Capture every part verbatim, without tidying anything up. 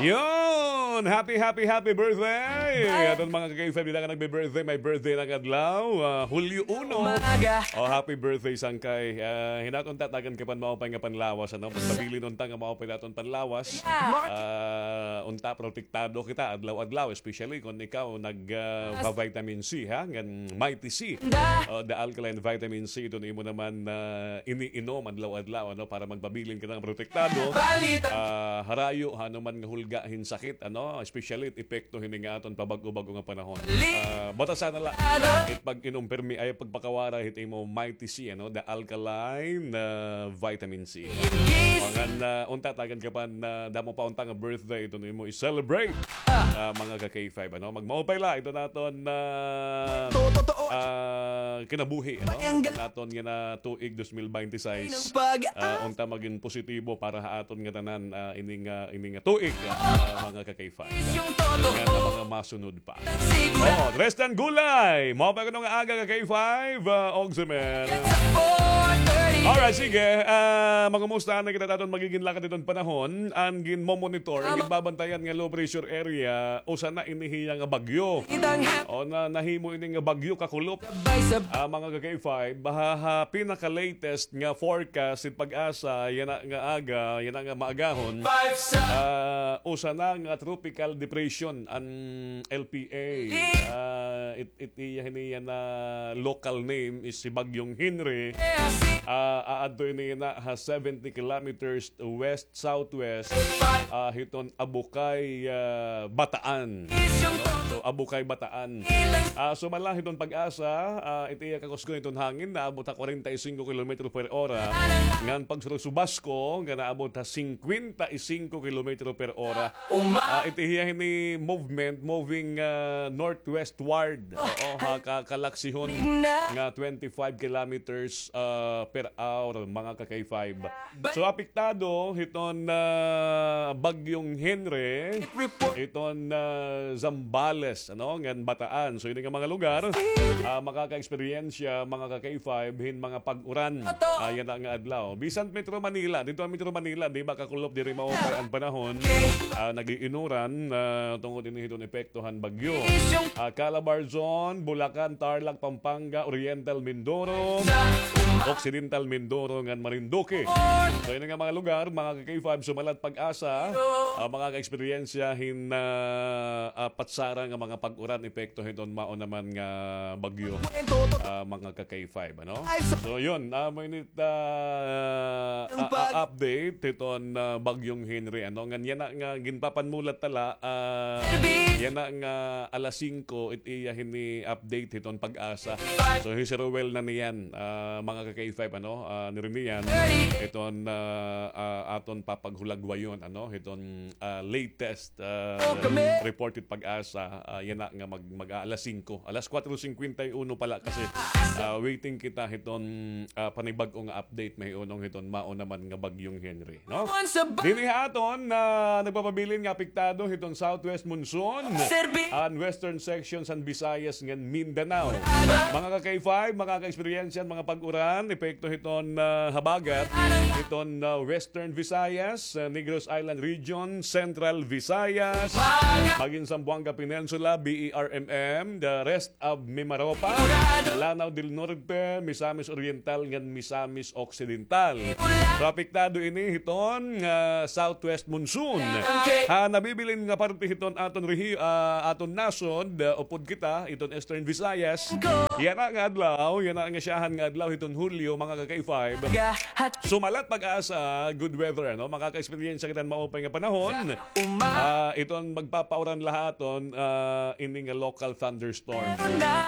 Yon! Happy, happy, happy birthday! Aton mga ka-K five, dida nga nagbi-birthday, may birthday na nga adlaw. Ah, Hulyo uno. O, happy birthday, Sangkay. Ah, hinaton ta, tagan ka pa hin maupay nga panlawas, ano? Pagpabilin unta nga maupay naton panlawas. Ah, unta, protektado kita, adlaw-adlaw, especially kon ikaw nag, ah, pa-vitamin C, ha? Ngan Mighty C. O, the alkaline vitamin C, iton imo naman, ah, iniinom adlaw-adlaw, ano? Para magpabilin kita nga protektado. Ah, harayo, ha, ano man nga hulga hin sakit, ano, especially it epekto hini nga aton pabag-o-bag-o nga panahon. Ah, batasan na la it pag-inom pirmi, ay pagpakawara hit imo Mighty C, ano, the alkaline, ah, vitamin C. Mga na, unta, tagan ka pa hin damo pa unta nga birthday iton imo i-celebrate, ah, mga ka-K five, ano. Magmaupay la iton aton, ah, ah, kinabuhi, ano, aton nga na tuig dos mil bente seis. Ah, unta magin positibo para ha aton nga tanan, ah, ini nga, ini nga tuig, ah, mga ka-K five. Nga na mga masunod pa. O, Tristan Gulay, maupay kuno nga aga ka-K five, ah, Ogsimer. Alright, sige. Ah, mangumusta na kita ha aton magigin lakad hiton panahon. An ginmomonitor, an ginbabantayan nga low pressure area, usa na ini hiya nga bagyo. O, na, nahimo ini nga bagyo kakulop. Ah, mga ka-K five, ha, ha pinaka-latest nga forecast hit PAGASA, yana nga aga, yana nga maagahon. Ah, usa na nga tropical depression an L P A. Ah, it, it iya hini yana local name is si Bagyong Henry. Ah, aadto ini yana ha seventy kilometers west southwest, ah, hiton Abukay, ah, Bataan. So, Abukay, Bataan. Ah, sumala hiton PAGASA, ah, it iya kakusgon hiton hangin, naabot ha kwarenta y singko kilometro per ora. Ngan pagsurusubasko, nga naabot ha singkwenta y singko kilometro per ora. Ah, it iya hini movement, moving, ah, northwestward. Oo, ha, ka-, kalaksihon nga twenty-five kilometers, ah, per hour, mga ka-K five. So, apektado hiton, ah, Bagyong Henry, hiton, ah, Zambales, ano, ngan Bataan. So, ini nga mga lugar, ah, makaka-eksperyensya, mga ka-K five, hin mga pag-uran. Ah, yana nga adlaw. Bisan Metro Manila, didto ha Metro Manila, di ba, kakulop diri maupay an panahon. Ah, nag-iinuran, ah, tungod ini hiton epekto han bagyo. Ah, Calabarzon, Bulacan, Tarlac, Pampanga, Oriental Mindoro, Occidental Mindoro, ngan Marinduque. So, ini nga mga lugar, mga ka-K five, sumala it PAGASA, ah, makaka-eksperyensya hin, ah, ah, patsara nga mga pag-uran epekto hiton mao naman nga bagyo, ah, mga ka-K five, ano? So, yun, ah, amo ini it, ah, ah, ah, update hiton, ah, Bagyong Henry, ano? Ngan yana nga ginpapanmulat ta la, ah, yana nga alas singko, it iya hini update hiton PAGASA. So, hi Sir Ruel na niyan, ah, mga ka-K five, ano, ah, niriniyan, hiton, ah, ah, aton papaghulagwayon, ano, hiton, ah, latest, ah, report hit PAGASA, ah, yana nga mag, mag, ah, alas singko. Alas kuwatro singkwenta y uno pa la kasi, ah, waiting kita hiton, ah, panibag-o nga update mahiunong hiton mao naman nga Bagyong Henry. No? Dinhi ha aton, ah, nagpapabilin nga apektado hiton southwest monsoon an western section san Visayas ngan Mindanao. Mga ka-K five, makaka-eksperyensya hin mga pag-uran, epekto hiton, ah, habagat, hiton, ah, Western Visayas, ah, Negros Island Region, Central Visayas, magin Zamboanga Peninsula, B E R M M, the rest of Mimaropa, Lanao del Norte, Misamis Oriental, ngan Misamis Occidental. So, apektado ini hiton, ah, southwest monsoon. Ha nabibilin nga parte hiton aton rehi-, ah, aton nasod, ah, upod kita, hiton Eastern Visayas. Yana nga adlaw, yana nga syahan nga adlaw hiton Hulyo, mga ka-K five. Sumala it PAGASA, good weather, ano? Makaka-eksperyensya kita hin maupay nga panahon. Ah, iton magpapauran la ha aton, ah, ini nga local thunderstorm.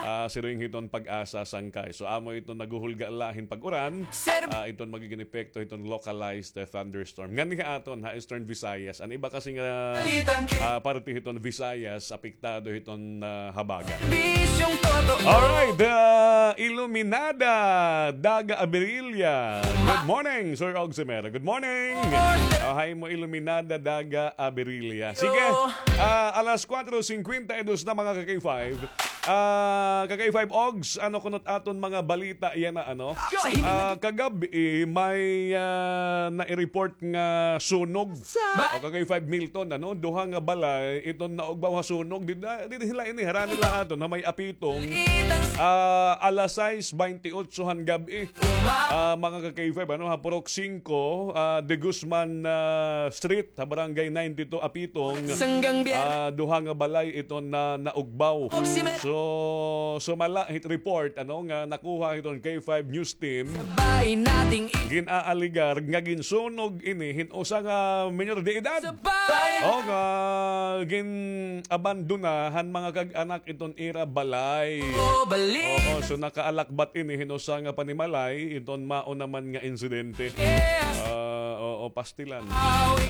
Ah, siring hiton PAGASA, Sangkay. So, amo iton naghuhulga la hin pag-uran. Ah, iton magigin epekto hiton localized, eh, thunderstorm. Nganhi ha aton, ha Eastern Visayas. An iba kasi nga, ah, parte hiton Visayas, apektado hiton, ah, habagat. Alright, ah, Iluminada Daga Abirilla. Good morning, Sir Ogsimer. Good morning. Ah, hi mo, Iluminada Daga Abirilla. Sige, ah, alas kuwatro singkwenta y dos na, mga ka-K five. Ah, ka K five Ogs, ano kunot aton mga balita yana, ano? Ah, kagab-i, may, ah, nai-report nga sunog. O, ka K five Milton, ano? Duha nga balay, iton naugbaw ha sunog. Di, di, di sila ini, harani la aton, ha may Apitong. Ah, alas sais baynte otso han gab-i. Ah, mga ka K five, ano, ha Purok singko, ah, De Guzman, ah, Street, ha Barangay ninety-two, Apitong. Ah, duha nga balay iton na naugbaw. So, sumala hit report, ano, nga nakuha hiton K five News Team. Gin-aaligar nga ginsunog ini hin usa nga minor de edad. O, nga gin-abandona han mga kag-anak iton ira balay. Oo, so nakaalakbat ini hin usa nga panimalay, iton mao naman nga insidente. Ah, oo, pastilan.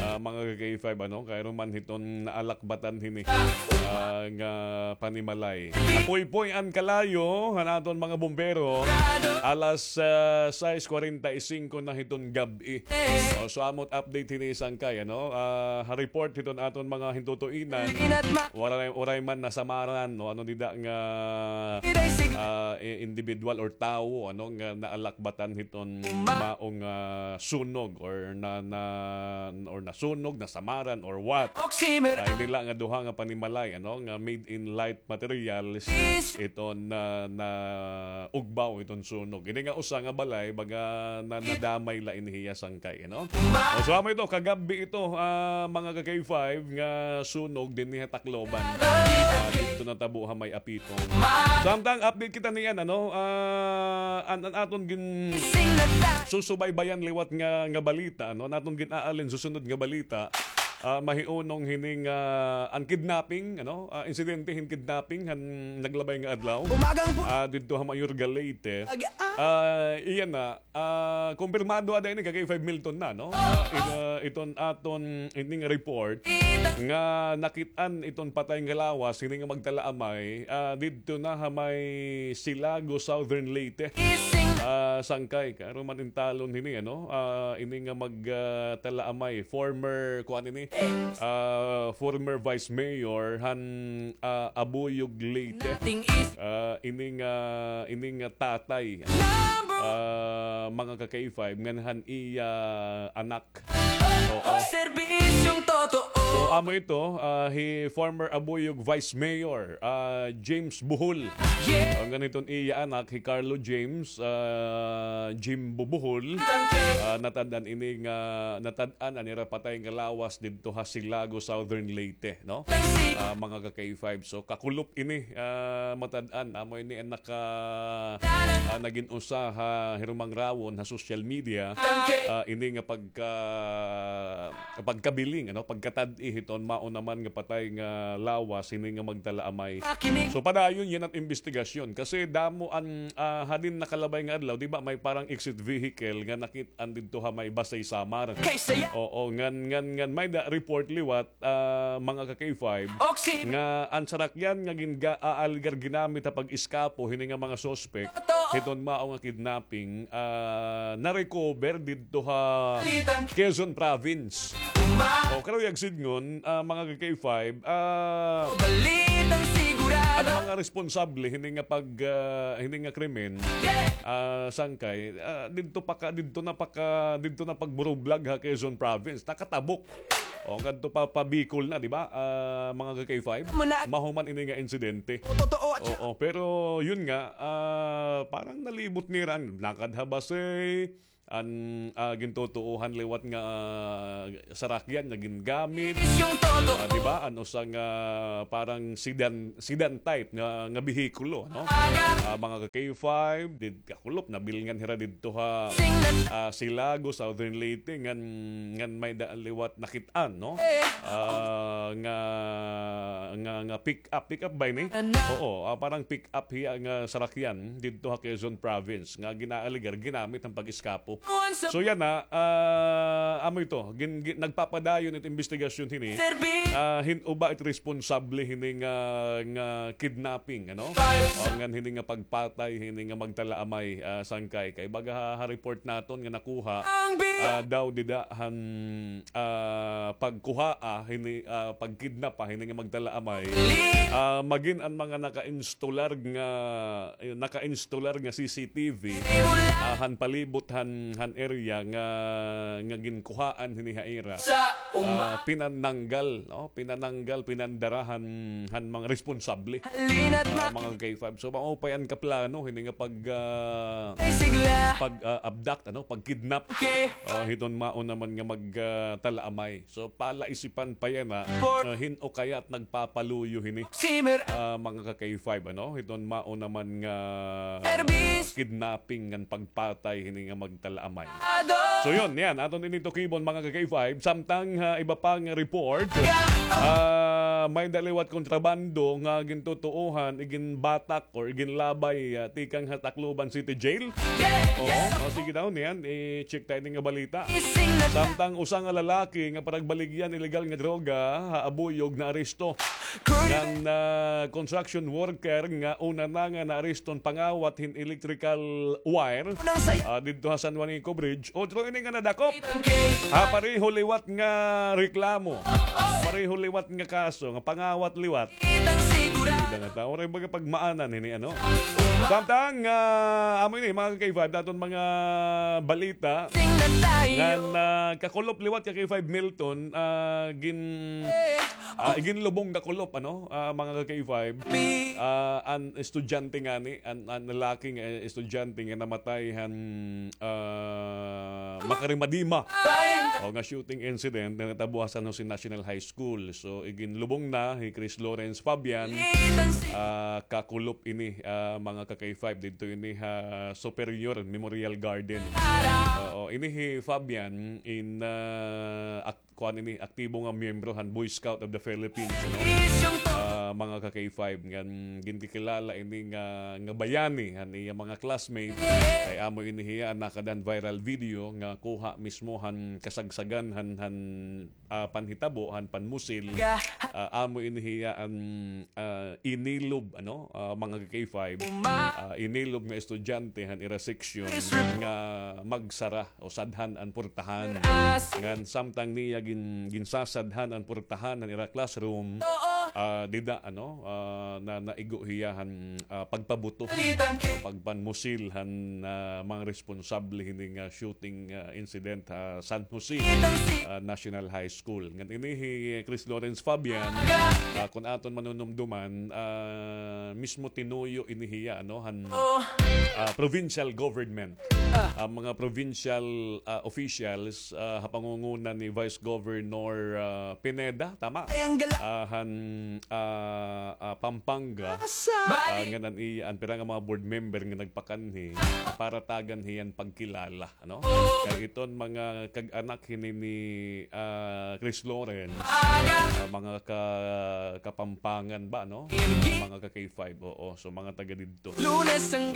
Ah, mga ka K five, ano, kay ruman hiton naalakbatan hini, ah, nga panimalay. Napuypoy an kalayo han aton mga bumbero. Alas, ah, sais kwarenta y singko na hiton gab-i. O, so, amo it update hini, Sangkay, ano? Ah, ha report hiton aton mga hintutuinan. Waray, waray man nasamaran, no? Ano dida nga, ah, i-, individual or tawo, ano, nga naalakbatan hiton maong, ah, sunog or na, na, or nasunog, nasamaran or what? Ay, nila nga duha nga panimalay, ano, nga made in light materials, iton na, naugbaw iton sunog. Ini nga usa nga balay, baga na, nadamay la ini hiya, Sangkay, no? O, so, amo ito, kagab-i ito, ah, mga ka K five, nga sunog dinhi ha Tacloban. Ah, didto natabo ha may Apitong. Samtang update kita niyan, ano? Ah, an, an aton gin-, susubaybayan liwat nga, nga balita, ano? An aton gin-aalin susunod nga balita. Ah, mahiunong hini nga, ah, an kidnapping, ano? Ah, insidente hin kidnapping han naglabay nga adlaw. Ah, didto ha Mayorga, Leyte. Ah, iya na, ah, kumpirmado ada ini ka K five Milton na, no? Ah, it-, ah, iton aton ining report nga nakit-an iton patay nga lawas hini nga magtalaamay, ah, didto na ha may Silago, Southern Leyte. Ah, Sangkay, kay ruman in talon hini, ano? Ah, ini nga mag, ah, talaamay, former, kuan ini, ah, former Vice Mayor han, ah, Abuyog, Leyte. Ah, ini nga, ini nga tatay, ah, mga ka K five, ngan han iya anak. Oo. So, amo ito, ah, hi former Abuyog Vice Mayor, ah, James Bohol. Ngan hiton iya anak, hi Carlo James, ah, Jimbo Bohol. Ah, natad-an ini nga, natad-an an ira patay nga lawas didto ha Silago, Southern Leyte, no? Ah, mga ka K five. So, kakulop ini, ah, matad-an. Amo ini an naka, ah, nagin usa ha hirumangrawan ha social media. Ah, ini nga pagka, pagkabiling, ano, pagkatad-i hiton mao naman nga patay nga lawas hini nga magtalaamay. So, padayon yana it imbestigasyon kasi damo an, ah, hadin nakalabay nga adlaw, di ba, may parang exit vehicle nga nakit-an didto ha may Basey, Samar. Oo, ngan, ngan, ngan may da report liwat, ah, mga ka K five, nga an sarakyan nga gin-, ga-, aaligar ginamit ha pag-eskapo hini nga mga suspect hiton mao nga kidnapping, ah, na-recover didto ha Quezon Province. O, karuyag sidngon, ah, mga ka K five, ah, an mga responsable hini nga pag, ah, hini nga krimen, ah, Sangkay, ah, didto pa ka, didto na pa ka, didto na pagburublag ha Quezon Province. Nakatabok. O, ngadto pa, pa Bicol na, di ba? Ah, mga ka K five? Mahuman ini nga insidente. Oo, pero yun nga, ah, parang nalibot nira an lakad ha Basey, an, ah, gintutuohan liwat nga, ah, sarakyan nga gingamit. Ah, di ba? An usa nga parang sedan, sedan type nga, nga behikulo, no? Ah, mga ka K five, did-, kakulop, nabilngan hira didto ha, ah, Silago, Southern Leyte, ngan, ngan may da liwat nakit-an, no? Ah, nga, nga, nga pick up, pick up ba ini? Oo, ah, parang pick up hiya nga sarakyan didto ha Quezon Province nga ginaaligar ginamit han pag-eskapo. So yana, ah, amo ito, gin-, gin-, nagpapadayon it imbestigasyon hini. Ah, hin-o ba it responsable hini nga, nga kidnapping, ano? O ngan hini nga pagpatay hini nga magtalaamay, ah, sangkay. Kay baga ha, ha report naton nga nakuha, ah, daw dida han, ah, pagkuhaa hini, ah, pagkidnap pa hini nga magtalaamay. Ah, magin an mga naka-installer nga, eh, naka-installer nga C C T V, ah, han palibot han, han area nga, nga ginkuhaan hini ha ira. Ah, pinananggal, no? Pinananggal, pinandara han, han mga responsable. Ah, mga K five. So, maupay an kaplano hini nga pag, ah, pag, ah, abduct, ano, pag-kidnap. Ah, hiton mao naman nga mag, ah, talaamay. So, palaisipan pa yana, ah, hin-o kaya it nagpapaluyo hini. Ah, mga ka-K five, ano? Hiton mao naman nga kidnapping ngan pagpatay hini nga magtalaamay. So, yun, yan. Aton ini tukibon, mga ka-K five. Samtang, ah, iba pa nga report, ah, may-ada liwat kontrabando nga gintutuohan, iginbatak or iginlabay, ah, tikang ha Tacloban City Jail. Oo, o, sige daw niyan, i-check ta ini nga balita. Samtang usa nga lalaki nga paragbaligyan illegal nga droga ha Abuyog naaresto. Ngan, ah, construction worker nga una na nga naareston pangawat hin electrical wire, ah, didto ha San Juanico Bridge. Otro ini nga nadakop ha pareho liwat nga reklamo. Pareho liwat nga kaso nga pangawat liwat. Ida nga tawo, waray baga pagmaanan hini, ano? Samtang, ah, amo ini, mga ka-K five, aton mga balita. Ngan, ah, kakulop liwat ka-K five Milton, ah, gin-, ah, ginlubong kakulop, ano? Ah, mga ka-K five. Ah, an estudyante ngani, an, an lalaki nga estudyante nga namatay han, ah, makarimadima. O, nga shooting incident nga natabo ha San Jose National High School. So, iginlubong na hi Chris Lawrence Fabian, ah, kakulop ini, ah, mga ka-K five, didto ini ha Superior Memorial Garden. Oo, ini hi Fabian in, ah, ak-, kuan ini, aktibo nga miyembro han Boy Scout of the Philippines, no? Ah, mga ka-K five, ngan ginkikilala ini nga, nga bayani han iya mga classmate. Kay amo ini hiya an nakada han viral video nga kuha mismo han kasagsagan han, han ah, panhitabo han panmusil, ah, amo ini hiya an, ah, inilob, ano, ah, mga ka-K five, ah, inilob nga estudyante han ira seksyon nga magsara o sadhan an purtahan. Ngan samtang niya gin-, ginsasadhan an purtahan han ira classroom, ah, dida, ano, ah, na, naigo hiya han, ah, pagpabuto, pagpanmusil han, ah, mga responsable hini nga shooting, ah, incident ha San Jose, ah, National High School. Ngan ini hi Chris Lawrence Fabian, ah, kun aton manunumduman, ah, mismo tinuyo ini hiya, ano, han, ah, provincial government. An mga provincial, ah, officials, ah, ha pangunguna ni Vice Governor, ah, Pineda, tama? Ah, han, ah, ah, Pampanga, ah, ngan an iya, an pira nga mga board member nga nagpakanhi, ah, para tagan hiya hin pagkilala, ano? Kay iton mga kag-anak hini ni, ah, Chris Lawrence, ah, mga ka-, Kapampangan ba, no? Mga ka-K five, oo. So, mga taga didto. So,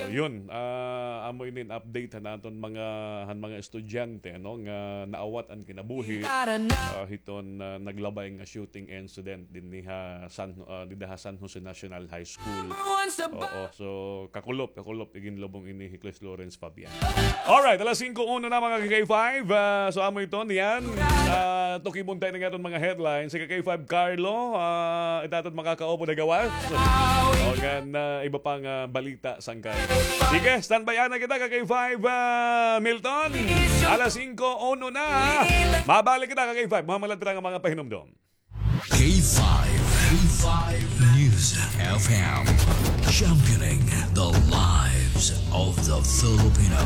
yun, ah, amo ini an update han aton mga, han mga estudyante, ano, nga naawat an kinabuhi, ah, hiton, ah, naglabay nga shooting incident dinhi ha San, ah, dida ha San Jose National High School. Oo, so, kakulop, kakulop, iginlubong ini hi Chris Lawrence Fabian. Alright, alas singko uno na, mga ka-K five. Ah, so, amo iton, yan. Ah, tukibon ta ini nga aton mga headlines. Si ka-K five Carlo, ah, ita aton makakaupod ha gawas. O, ngan, ah, iba pa nga balita sangkay. Sige, standby anay kita, ka-K five, ah, Milton. Alas singko uno na. Mabalik kita, ka-K five. Mga malatira nga mga pahinumdom. K five, K five News F M, championing the lives of the Filipino.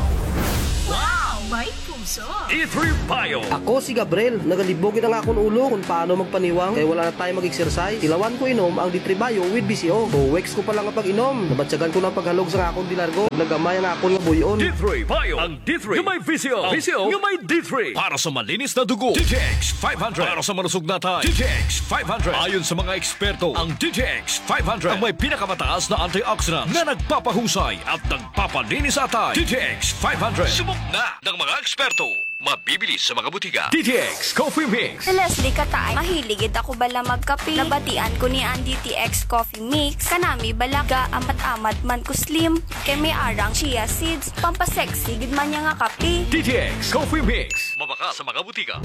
Wow, may puso! D three Bio. Ako si Gabriel. Nagalibog gid an akon ulo kon paano magpaniwang kay wala na time mag-exercise. Tilawan ko inom ang D three Bio with V C O. Two weeks ko pa lang nga pag-inom, nabatyagan ko na an paghalog sa akon dilargo. Naggamay ang akon nga buy-on. D three Bio. Ang D three nga may V C O. V C O nga may D three. Para sa malinis na dugo, D T X five hundred. Para sa malusog na atay, D T X five hundred. Ayon sa mga eksperto, ang D T X five hundred ang may pinakamataas na antioxidants na nagpapahusay at nagpapalinis sa atay. D T X five hundred. Subok na! Ang mga eksperto, mabibili sa mga butika. D T X Coffee Mix. Si Leslie Kataay, mahilig gid ako bala magkape. Nabatian ko niya an D T X Coffee Mix. Kanami bala ga-amat-amat man ko slim. Kay may arang chia seeds, pampasexy gid man niya nga kape. D T X Coffee Mix. Mabaka sa mga butika.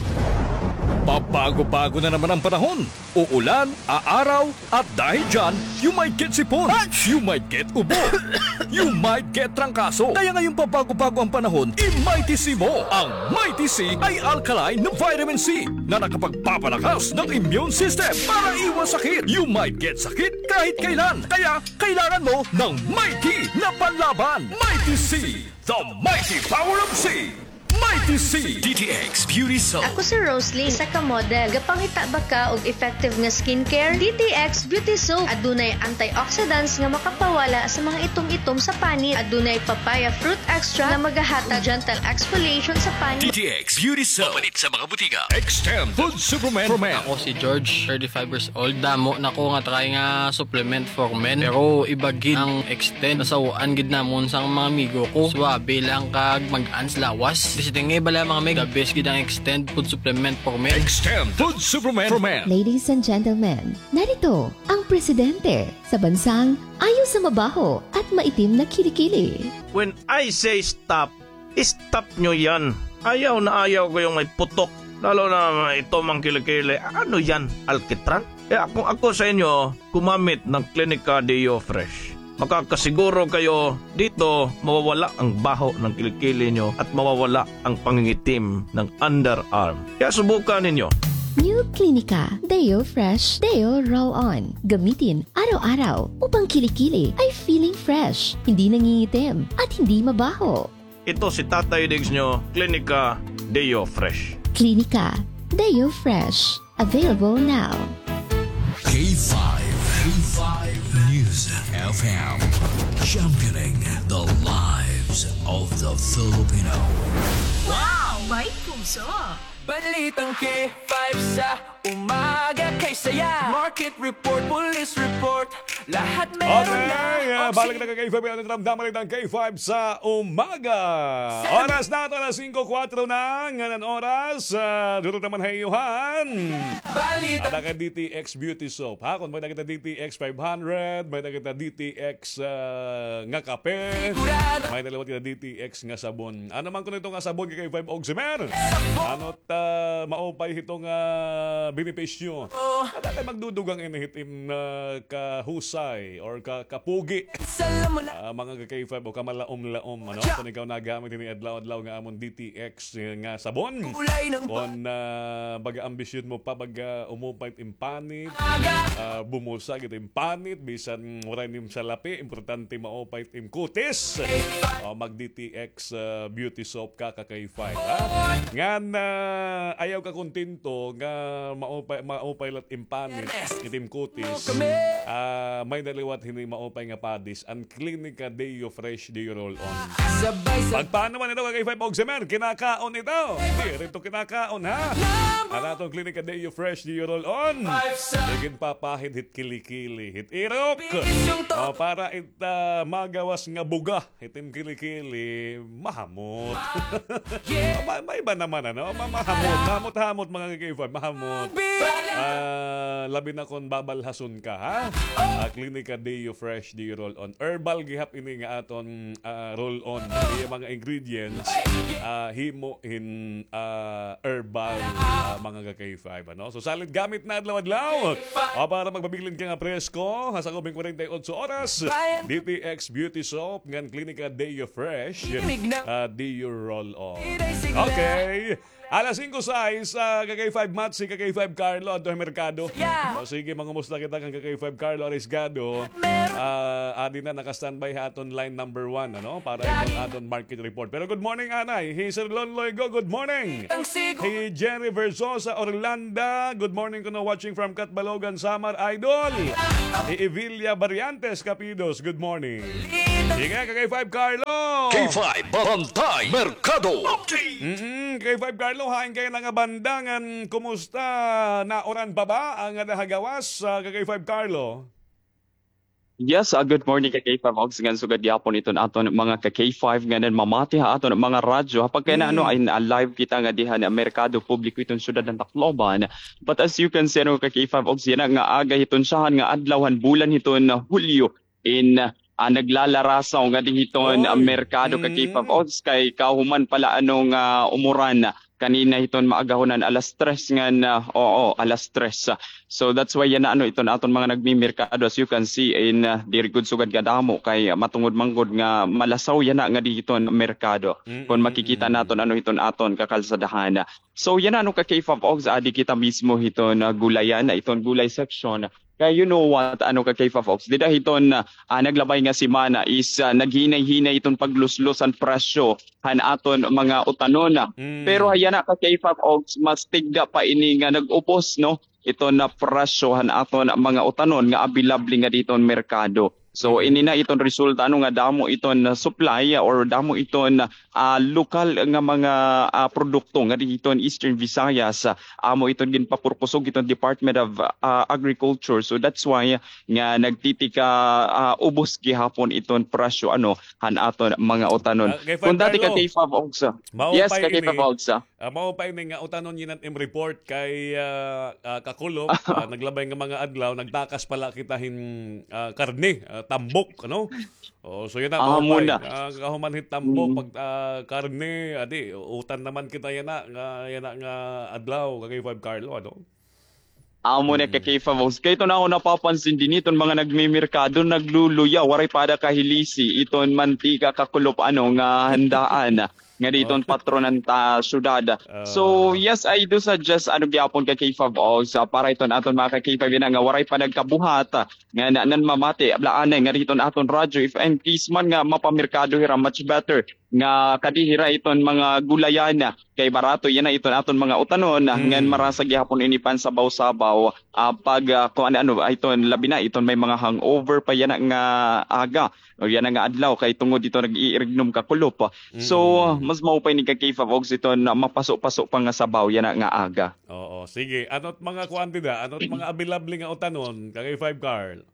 Pabago-bago na naman ang panahon. Uulan, aaraw, at dahil dyan, you might get sipon, you might get ubo, you might get trangkaso. Kaya ngayong pabago-bago ang panahon, i-Mighty C mo. Ang Mighty C ay alkaline na vitamin C na nakapagpapalakas ng immune system para iwas sakit. You might get sakit kahit kailan. Kaya kailangan mo ng Mighty na panlaban. Mighty C, the mighty power of C. Mighty C. D T X Beauty Soap. Ako si Roslyn, isa ka model. Gapangita ba ka og effective nga skincare? D T X Beauty Soap. Adunay antioxidants nga makapawala sa mga itom-itom sa panit. Adunay papaya fruit extract nga magahatag gentle exfoliation sa panit. D T X Beauty Soap. Mapalit sa mga butika. Extend Food Supplement for Men. Ako si George, thirty-five years old. Damo na ko nga try nga supplement for men. Pero iba gid ang Extend. Nasaw-an gid namon sa mga amigo ko. Suwabe lang kag mag-ans lawas. Bisi tingay bala, mga mig. The best gid ang Extend food supplement for men. Extend food supplement for men. Ladies and gentlemen, narito ang presidente sa bansang ayaw sa mabaho at maitim na kilikili. When I say stop, stop nyo yan. Ayaw na ayaw ko yung may putok. Lalo na may itom ang kilikili. Ano yan? Alkitran? Kaya kung ako sa inyo, gumamit ng Clinica Deo Fresh. Makakasiguro kayo dito mawawala ang baho ng kilikili nyo at mawawala ang pangingitim ng underarm. Kaya subukan ninyo. New Clinica Deo Fresh Deo Roll On. Gamitin araw-araw upang kilikili ay feeling fresh, hindi nangingitim, at hindi mabaho. Ito si Tatay Diggs nyo, Clinica Deo Fresh. Clinica Deo Fresh. Available now. K five, K five News F M, championing the lives of the Filipino. Wow! May puso! Balitang K five sa umaga kay saya. Market report, police report, lahat meron na. Okay, ah, balik na ka K five, ano, ramdaman itong K five sa umaga. Oras na ito, alas singko kuwatro na, ngan an oras, ah, duro naman ha iyo han. Balita. Ada ka D T X Beauty Soap, ha? Kung may nakita D T X five hundred, may nakita D T X, ah, nga kape, sigurado. May naliwat kita D T X nga sabon. Ano man kuno ito nga sabon kay K five Oximer? Ano ta maupay hito nga benepisyo? Oh. Ada kay magdudugang ini hit im, ah, kahusay or ka-, kapugi. Salam mo na. Ah, mga ka-K five o kamalaom-laom, ano? Kung ikaw nagamit ini adlaw-adlaw nga amon D T X, eh, nga sabon. Kulay ng ba- Kon, ah, baga ambisyon mo pa, baga umupay it im panit, ah, bumusa gid it im panit, bisan waray nim salapi, importante maupay it im kutis. O, mag D T X, ah, beauty soap ka, ka-K five, ha? Ngan, ah, ayaw ka kontento nga maupay, maupay la it im panit, it im kutis. Ah, may naliwat hini maupay nga padis, an Clinica Deo Fresh Deo Roll On. Sabay sa Pagpaano man ito, ka-K five Oximer? Kinakaon ito. Diri ito kinakaon, ha? An aton Clinica Deo Fresh Deo Roll On. Iginpapahid hit kilikili, hit irok. Bisyong to- O, para it, ah, magawas nga buga. It im kilikili, mahamot. Ah, yeah. Ma-, may iba naman, ano? Ma-, mahamot. Mahamot-hamot, mga ka-K five, mahamot. Ah, labi na kon babalhason ka, ha? Ah, Clinica Deo Fresh Deo Roll On. Herbal gihap ini nga aton, ah, roll on. Iya mga ingredients, ah, himo hin, ah, herbal, ah, mga ka-K five, ano? So, solid gamit na adlaw-adlaw. O, para magpabilin ka nga presko, ha, sa ubing kwarenta y otso oras, D T X Beauty Soap, ngan Clinica Deo Fresh, ah, Deo Roll On. Okay. Alas singko sais, ah, ka-K five Matsy, ka-K five Carlo, adto ha merkado. Yeah. O, sige, mangumusta kita kan ka-K five Carlo Arisgado. Ah, adi na, naka-standby ha aton line number one, ano, para iton aton market report. Pero good morning, anay. Hi Sir Lon Loigo, good morning. Hi Jerry Versosa Orlanda, good morning kuno, watching from Catbalogan, Samar, idol. Hi Evilia Barriantes Capidos, good morning. Sige, ka-K five Carlo. K five Bantay Merkado. Mm, ka-K five Carlo, hain kay na nga banda ngan kumusta? Nauran pa ba an ada ha gawas, ah, ka-K five Carlo? Yes, ah, good morning ka K five Ogs, ngan sugad gihapon iton aton mga ka K five nga nanmamati ha aton mga radyo. Ha pagkay na ano, ay, ah, live kita nga diha na merkado publiko iton syudad ng Tacloban. But as you can see, ano, ka K five Ogs, yana nga aga hiton siyahan nga adlaw han bulan hiton, ah, Hulyo in, ah, naglalarasaw nga di hiton, ah, merkado ka K five Ogs kay kahuman pala ano nga umuran kanina hiton maagahonan alas tres ngan, ah, oo, alas tres. So that's why yana ano iton aton mga nagmimerkado, as you can see in, ah, diri gud sugad kadamo kay matungod man gud nga malasaw yana nga di hiton merkado. Kon makikita naton ano hiton aton kakalsadahan. So yana ano ka K five Ogs, adi kita mismo hiton, ah, gulayan, iton gulay section. Kay you know what, ano ka K five Ogs, dida hiton, ah, naglabay nga semana is, ah, naghinay-hinay iton pagluslos han presyo han aton mga utanon. Pero yana ka K five Ogs, mas tigda pa ini nga nag-ubos, no, iton nga presyo han aton mga utanon nga available nga diton merkado. So ini na iton resulta, ano, nga damo iton, ah, supply, ah, or damo iton, ah, lokal nga mga, ah, produkto nga diton Eastern Visayas, ah, amo iton ginpapurkusog iton Department of, ah, Agriculture. So that's why nga nagtitika, ah, ubos gihapon iton presyo, ano, han aton mga utanon. Ah, kay Kun dati ka Carlo, K five Ogs, ah. Yes, ka K five Ogs, ah. Ah, mao pa ini nga utanon yana im report kay, ah, ah, Kakulop, ah, naglabay nga mga adlaw, nagtakas pala kita hin, ah, karne, ah, tambok, ano? Oh, so yana, mao pa ini, ah, kahuman hin tambok, pag, ah, karne, adi, utan naman kita yana, nga, yana nga adlaw, ka K five Carlo, ano? Amo na ka K five Ogs. Kay iton ako napapansin dinhi, iton mga nagmimerkado, nagluluya, waray pa ada kahilisi iton mantika, Kakulop, ano, nga handaan nga diton patronan ta syudad. So yes, I do suggest, ano, gihapon ka K five Ogs, para iton aton mga ka K five yana nga waray pa nagkabuhat, ah, nga na, nanmamati, ablaanay nga diton aton radyo, if in case man nga mapamerkado hira, much better nga kadi hira iton mga gulayan, kay barato yana iton aton mga utanon, ngan marasa gihapon ini pansabaw-sabaw, ah, pag, ah, kuan, ano, ah, iton labi na iton may mga hangover pa yana nga aga o yana nga adlaw kay tungod iton nag-iirignom, Kakulop. So mas mao pa ini ka K five Ogs iton, ah, mapaso-paso pa nga sabaw yana nga aga. Oo, sige. Ano't mga kuan dida? Ano't mga available nga utanon, ka K five Carl?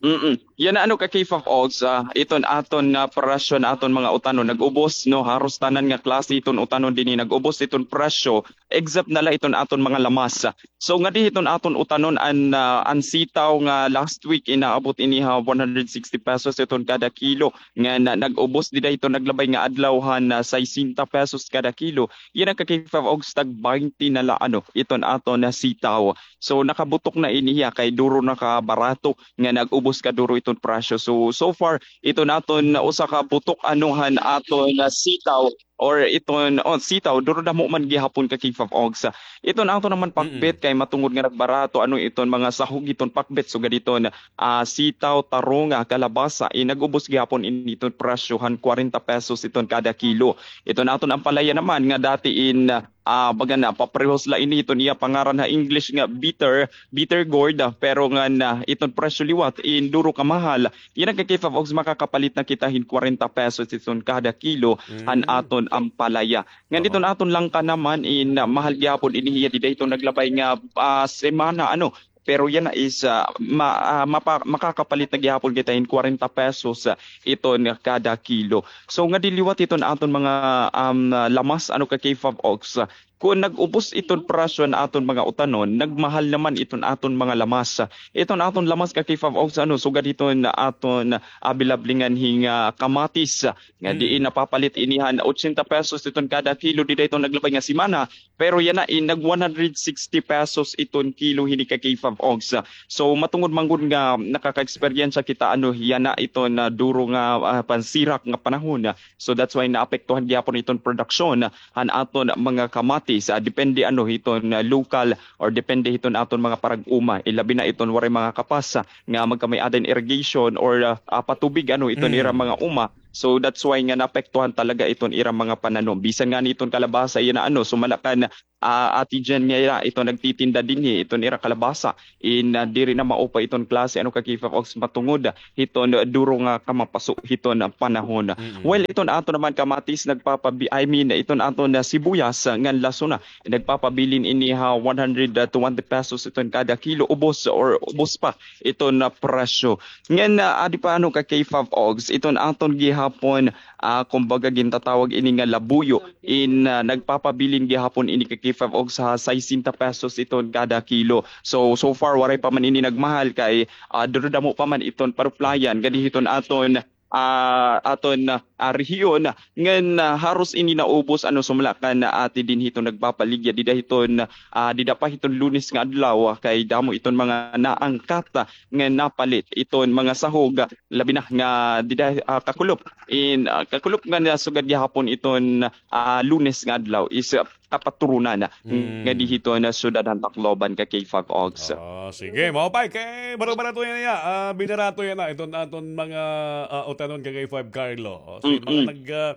Mm. Yana, ano, ka K five Ogs, ah, iton aton nga presyo han aton mga utanon nag-ubos, no, haros tanan nga klase iton utanon dinhi nag-ubos iton presyo, except na la iton aton mga lamas. So ngadi hiton aton utanon an, ah, an sitaw nga last week inaabot ini ha one hundred sixty pesos iton kada kilo, ngan nag-ubos dida hiton naglabay nga adlaw han, ah, sesenta pesos kada kilo. Yana ka K five Ogs, tag baynte na la, ano, iton aton nga sitaw. So nakabutok na ini hiya kay duro na kabarato nga nag-ubos kaduro iton presyo. So, so far, iton aton usa ka butok, ano, han aton nga sitaw or iton, oh, sitaw, duro damo man gihapon ka K five Ogs. Iton aton naman pakbet kay matungod nga nagbarato, ano, iton mga sahog iton pakbet, sugad iton, ah, sitaw, tarong, ah, kalabasa, eh, nag-ubos gihapon ini iton presyo han kwarenta pesos iton kada kilo. Iton aton ampalaya naman nga dati in, ah, baga na, paparehos la ini iton iya pangaran ha English nga bitter, bitter gourd, ah, pero ngan, ah, iton presyo liwat in duro kamahal. Yana ka K five Ogs, makakapalit na kita hin kwarenta pesos iton kada kilo han aton ampalaya. Ngan iton aton langka naman in, ah, mahal gihapon ini hiya dida iton naglabay nga, ah, semana, ano, pero yana is, ah, ma-, ah, mapa-, makakapalit na gihapon kita hin kwarenta pesos, ah, iton kada kilo. So ngadi liwat iton aton mga, um, ah, lamas, ano, ka K five Ogs, ah, kon nag-ubos iton presyo han aton mga utanon, nagmahal naman iton aton mga lamas. Iton aton lamas ka K five Ogs, ano, sugad iton aton available ngan hin, ah, kamatis, ah, nga diin napapalit ini han ochenta pesos iton kada kilo dida iton naglabay nga semana. Pero yana in nag one hundred sixty pesos iton kilo hini ka K five Ogs. So matungod man gud nga nakaka-eksperyensya kita, ano, yana iton, ah, duro nga, ah, pansirak nga panahon. So that's why naapektuhan gihapon iton produksyon han aton mga kamatis. Ah, depende, ano, hiton, ah, lokal or depende hiton aton mga parag-uma. Ilabi na iton waray mga kapas, ah, nga magkamay-ada hin irrigation or, ah, ah, patubig, ano, iton ira mga uma. So that's why nga naapektuhan talaga iton ira mga pananom. Bisan ngani iton kalabasa yana ano, sumala kan, ah, Ate Jen nga yana iton nagtitinda dinhi iton ira kalabasa. In, ah, diri na maupay iton klase ano ka K five Ox matungod hiton duro nga kamapaso hiton panahon. Mm-mm. Well, iton aton naman kamatis nagpapabi-, I mean, iton aton, ah, sibuyas, ah, ngan lasona, nagpapabilin ini ha one hundred twenty pesos iton kada kilo, ubos or ubos pa iton, ah, presyo. Ngan, ah, adi pa ano ka K five Ox, iton aton gihapon, ah, kumbaga gintatawag ini nga labuyo, in, ah, nagpapabilin gihapon ini ka K five Ox ha sesenta pesos iton kada kilo. So, so far, waray pa man ini nagmahal kay, ah, duro damo pa man iton paruplayan, gadi hiton aton, ah, aton, ah, rehiyon, ngan, ah, haros ini naubos, ano, sumala kan, ah, ati dinhi iton nagpapaligya dida hiton, ah, dida pa hiton Lunes nga adlaw, ah, kay damo iton mga naangkat, ah, ngan napalit iton mga sahog, ah, labi na nga dida, ah, kakulop. In, ah, kakulop nga nasugad gihapon iton, ah, Lunes nga adlaw is, ah, kapaturunan, ah, Mm. nga dihiton, ah, syudad han Tacloban ka K five Ox. Ah, sige, maupay kay baro-barato yana, ah, binarato yana iton aton mga, ah, utanon ka K five Carlo. O, sige, mga Mm-mm. nag, ah,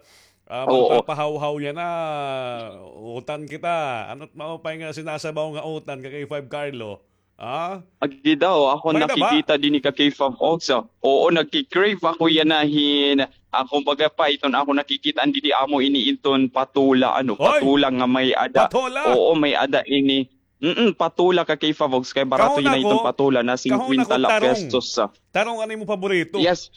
ah, Oo. magpapahawhaw yana, utan kita. Ano't maupay nga sinasabaw nga utan ka K five Carlo? Ah? Agi daw, ako May na ba? nakikita dinhi ka K five Ox, ah. Oo, nagki-crave ako yana hin, ah, kumbaga pa, iton ako nakikita, an didi amo ini iton patola, ano, Hoy! patola nga may ada. Patola? Oo, may ada ini. Mm, patola ka K five Ox, kay barato Kahon yana iton ako, patola na kahon ako singkwenta la tarong. pesos, ah. Tarong an imo paborito. Yes.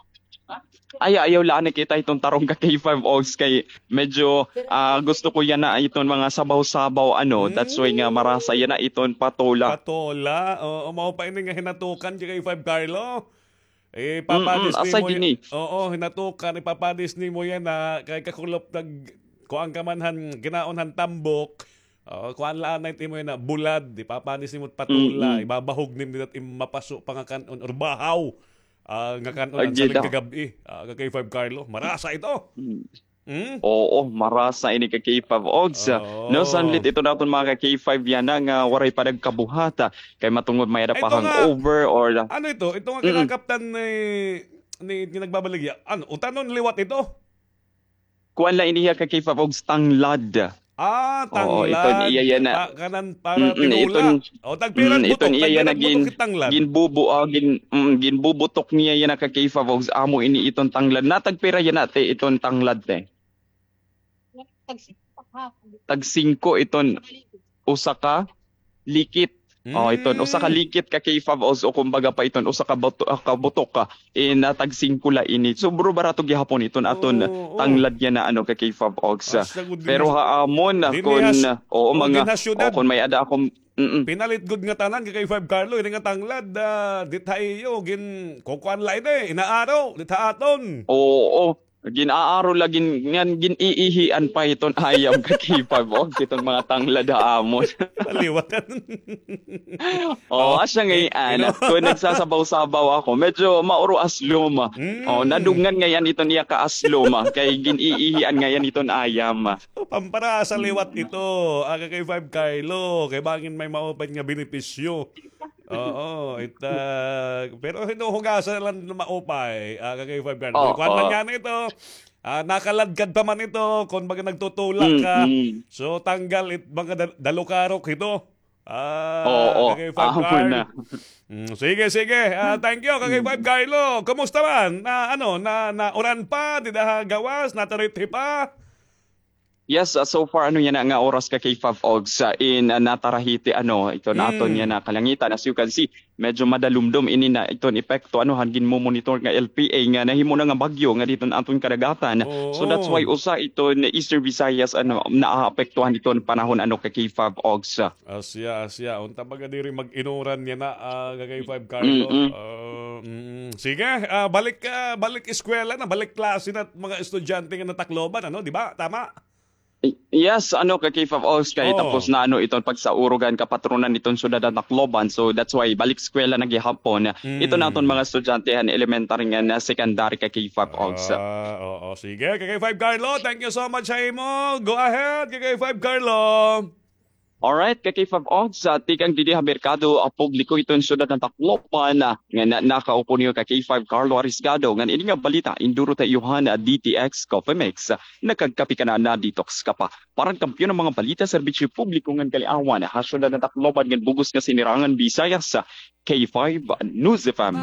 Ay, ayaw la ani kita iton tarong ka K five Ox kay medyo, ah, gusto ko yana iton mga sabaw-sabaw, ano. That's why nga Mm. marasa yana iton patola. Patola. Oo, mao pa ini nga hinatukan ka K five Carlo. Mm, Ipapadis asa nimo y-, gini? oo, hinatukan, ipapadis nimo yana kay kakulop nag-, kuan ka man han, kinaon han tambok. Oo, kuan la anay imo yana, bulad, ipapadis nimo patola, Mm-mm. ibabahog nimo dida im mapaso pa nga kan-on or bahaw. Ah, nga kan-on an Agi saling daw. kagab-i, ah, ka K five Carlo. Marasa ito. Mm. Hmm? Oo, marasa ini ka K five Ogs. Oo. No, sanlit ito naton mga ka K five yana nga waray pa nagkabuhata. Kay matungod may ada Ay, pa ito nga. hangover or Ano ito? Ito nga Mm. kinakaptan ni, ni, ni nagbabaligya. Ano, utanon liwat ito? Kuan la ini hiya ka K five Ogs, tanglad. Ah, Oo, iton tanglad. iya yana. Pa-, kanan para Mm, tinola. iton, O, tagpira mm, iton butok, iya tagpira yana gin-, butok it tanglad. ginbubu-, ah, gin-, mm, ginbubutok niya yana ka K five Ogs. Amo ini iton tanglad. Na tagpira yana, te, iton tanglad, te? Tag singko iton usa ka likit. Oh, iton usa ka Mm. likit ka K five Ogs, o kumbaga pa iton usa ka buto-, ah, ka butok ka. In, ah, tag singko la ini. Sobra barato gihapon iton aton Oo, oo. tanglad yana, ano, ka K five Ogs. Asa gud Pero dinhi ha amon, dinhi kon, ha sy-, oo, oo, mga, dinhi ha syudad. oo, kon may ada akong, mm. Pinalit gud nga tanan ka K five Carlo, ini nga tanglad, ah, dit ha iyo, gin-, kukuan la ini, inaaro, dit ha aton. Oo, gin-aaro la, gin-, ngan gin-iihian pa iton ayam ka K five Ogs, iton mga tanglad ha amon. Maliwatan. Oo, Oh, asya ngay-an. Kon nagsasabaw-sabaw ako, medyo mauro aslom. Mm. Oh, nadungan ngay-an iton iya ka aslom, kay gin-iihian ngay-an iton ayam. Oh, pamparasa liwat ito, ah, ka K five Carlo, kay bangin may maupay nga benepisyo. Oo, it, ah, pero hinuhugasan na lang na maupay, ah, ka K five Carlo. Oo. Kuwan man nga na ito, ah, nakaladkad pa man ito, kon baga nagtutulak ka. Mm, mm. So, tanggal it mga dal-, dalukarok ito. Ah, Oo, ka K five amo Carlo. na. Mm, sige, sige. Ah, thank you, ka K five Mm. Carlo. Kumusta man? Na, ano, na, na uran pa, dida ha gawas, natarithi pa? Yes, ah, so far, ano yana nga oras ka K five Ogs, ah, in, ah, natarahiti, ano, ito naton Mm. yana kalangitan. As you can see, medyo madalumdom ini na iton epekto, ano, han ginmomonitor nga L P A nga nahimo na nga bagyo nga diton aton kadagatan. So that's Oo. why usa iton Eastern Visayas, ano, naapektuhan iton panahon, ano, ka K five Ogs. Asya, asya. Unta baga diri mag-inuran yana, ah, ka K five Carlo. Mm-mm. Ah, mm. Sige, ah, balik, ah, balik eskwela na, balik klase na mga estudyante nga natahom, ano, di ba? Tama? Y-, yes, ano, ka K five Ogs, kay Oo. tapos na, ano, iton pagsaurog han kapatronan iton syudad han Tacloban. So that's why balik eskwela na gihapon. Mm. Ito naton mga estudyante han elementary ngan secondary ka K five Ogs. Ah, oo. Sige, ka K five Carlo, thank you so much ha imo. Go ahead, ka K five Carlo. Alright, ka K five Odds, ah, tikang didi ha merkado, ah, publiko hiton syudad han Tacloban, ah, nga na, nakaupo niyo ka K five Carlo Arisgado, ngan ini nga balita, induro ta iyo han, ah, D T X Coffee Mix, ah, nakagkape ka na, na-detox ka pa. Para han kampiyon nga mga balita, serbisyo publiko ngan kaliawan, ha syudad han Tacloban ngan bug-os nga Sinirangan Visayas, ah, K five News F M.